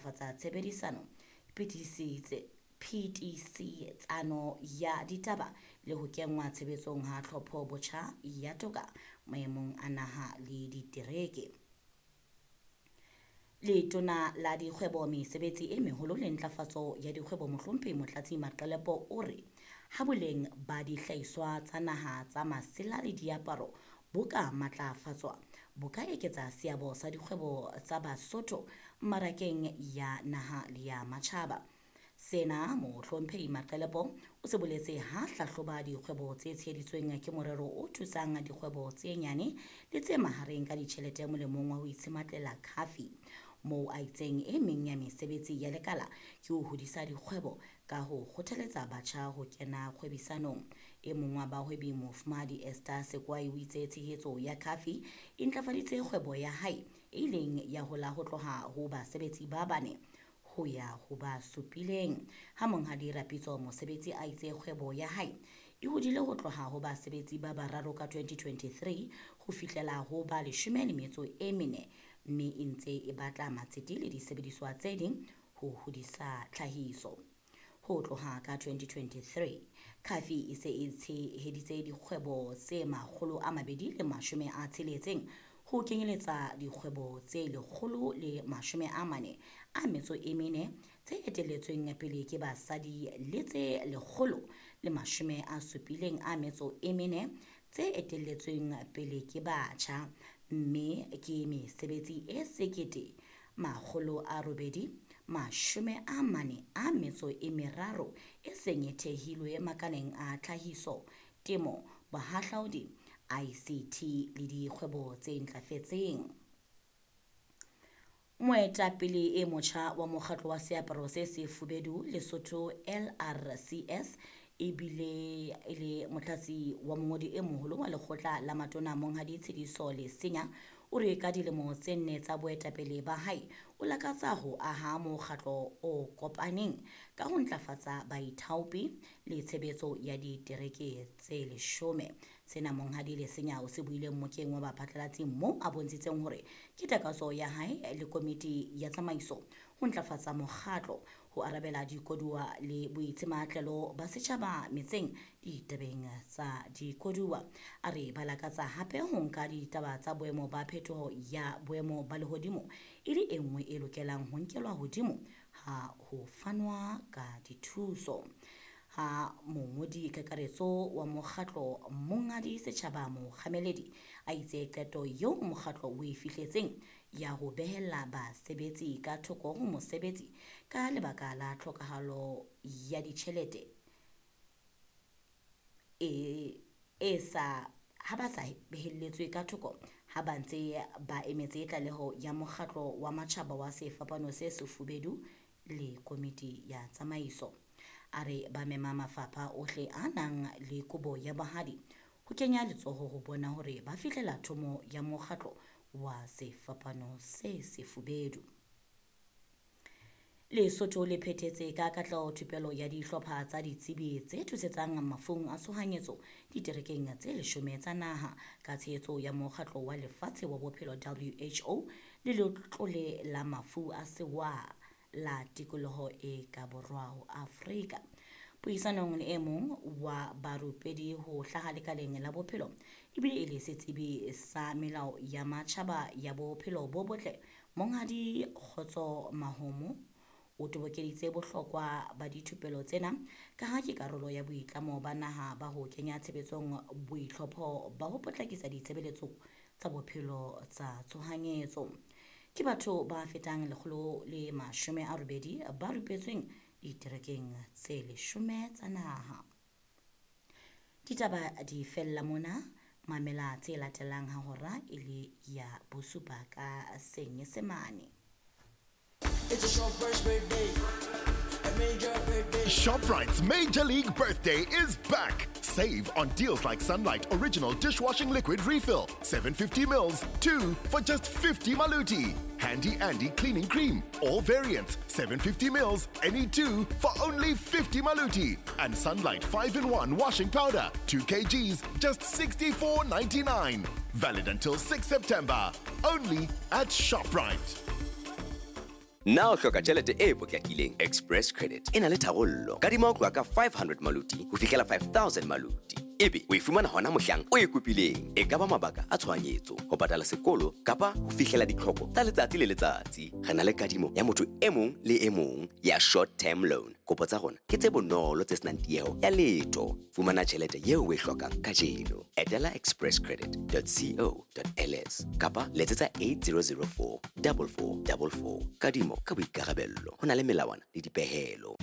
ntlafatsa tshebedisano, phetisetsano ya ditaba le ho kenngwa tshebetsong ha tlhopho botjha ya toka maemong a naha le ditereke. Letona la Dikgwebo, Mesebetsi e Meholo le Ntlafatso ya Dikgwebo Mohlomphehi Motlatsi Maqelepo o re ha boleng ba dihlahiswa tsa naha tsa masela le diaparo bo ka matlafatswa, bo ka eketsa seabo sa dikgwebo tsa Basotho mmarakeng ya naha le ya matjhaba. Sena Mohlomphehi Maqelepo o se boletse ha hlahloba dikgwebo tse tsheheditsweng ke morero o thusang dikgwebo tse nyane le tse mahareng ka ditjhelete molemong wa ho itshematlela khafi, moo a itseng e meng ya mesebetsi ya lekala ke ho hodisa dikgwebo ka ho kgothaletsa batjha ho kena kgwebisanong. E mong wa bahwebi Mofumahadi Esther Sekwai o itse tshehetso ya khafi e ntlafaditse kgwebo ya hae e ileng ya hola ho tloha ho basebetsi ba bane ho ya ho ba supileng. Ha Monghadi Rapitso Mosebetsi a itse kgwebo ya hae e hodile ho tloha ho basebetsi ba bararo ka 2023 ho fihlela ho ba 14, mme e ntse e batla matsete le disebediswa tse ding ho hodisa tlhahiso. Ho tloha ka 2023, Khafi e se e tsheheditse dikgwebo tse 260 ho kenyeletsa dikgwebo tse 144 tse etelletsweng pele ke basadi le tse 174 tse etelletsweng pele ke batjha, mme ke mesebetsi e 1843 e seng e thehilwe makaleng a tlhahiso, temo, bohahlaudi, ICT le dikgwebo tse ntlafetseng. Moetapele e motjha wa mokgatlo wa seaparo se sefubedu Lesotho LRCS ebile e le motlatsi wa mongodi e moholo wa lekgotla la matona Monghadi Tshediso Lesenya o re ka dilemo tse nne tsa boetapele ba hae o lakatsa ho aha mokgatlo o kopaneng ka ho ntlafatsa baithaopi le tshebetso ya ditereke tse 10. Sena Monghadi Lesenya o se buile mmokeng wa baphatlalatsi moo a bontshitseng hore ke takatso ya hae le komiti ya tsamaiso ho ntlafatsa mokgatlo ho arabela dikoduwa le boitsematlelo ba setjhaba metseng ditabeng tsa dikoduwa. A re ba lakatsa hape ho nka ditaba tsa boemo ba phetoho ya boemo ba lehodimo e le e nngwe e lokelang ho nkelwa hodimo ha ho fanwa ka dithuso. Ha mongodi kakaretso wa mokgatlo Monghadi Setjhaba Mokgameledi a itse qeto eo mokgatlo o e fihletseng ya ho behella basebetsi ka thoko ho mosebetsi ka lebaka la tlhokahalo ya ditjhelete e sa ha ba sa behelletswe ka thoko ha ba ntse ba emetse tlaleho ya mokgatlo wa matjhaba wa sefapano se sefubedu le komiti ya tsamaiso. A re ba mema mafapha ohle a nang le kobo ya bohadi ho kenya letsoho ho bona hore ba fihlela thomo ya mokgatlo wa sefapano se sefubedu. Lesotho le phethetse ka katleho thupelo ya dihlopha tsa ditsebi tse thusetsang mafung a tshohanyetso diterekeng tse 10 tsa naha ka tshehetso ya mokgatlo wa lefatshe wa bophelo WHO le letlole la mafu a sewa la tikoloho e ka borwa ho Afrika. Puisanong le e mong wa barupedi ho hlaha lekaleng la bophelo ebile e le setsebi sa melao ya matjhaba ya bophelo bo botle Monghadi Kgotso Mahomo o tobokeditse bohlokwa ba dithupelo tsena ka ha ke karolo ya boitlamo ba naha ba ho kenya tshebetsong boitlhopho ba ho potlakisa ditshebeletso tsa bophelo tsa tshohanyetso. Ke batho ba fetang 180 ba rupetsweng diterekeng tse 10 tsa naha. Ditaba di fella mona, mamela tse latelang ha hora e le ya bosupa ka Senyesemane. It's a Shoprite's birthday. A major birthday. Shoprite's Major League Birthday is back. Save on deals like Sunlight Original Dishwashing Liquid Refill, 750 mils, 2 for just 50 maluti. Handy Andy Cleaning Cream, all variants, 750 mils, any 2 for only 50 maluti. And Sunlight 5-in-1 Washing Powder, 2 kgs, just 64.99. Valid until 6 September. Only at Shoprite. Na o hloka tjhelete e potlakileng? Express Credit e na le tharollo. Kadima ho tloha ka 500 maluti ho fihlela 5000 maluti. Ebe o e fumana hona mohlang o e kopileng. E ka ba mabaka a tshohanyetso, ho patala sekolo kapa ho fihlela ditlhoko tsa letsatsi le letsatsi. Re na le kadimo ya motho e mong le e mong ya short term loan. Kopo tsa rona ke tse bonolo tse senang tieho ya letho. Fumana tjhelete eo o e hlokang kajeno. Etela expresscredit.co.ls kapa letsetsa 8004 4444. Kadimo ka boikarabello. Ho na le melawana le dipehelo.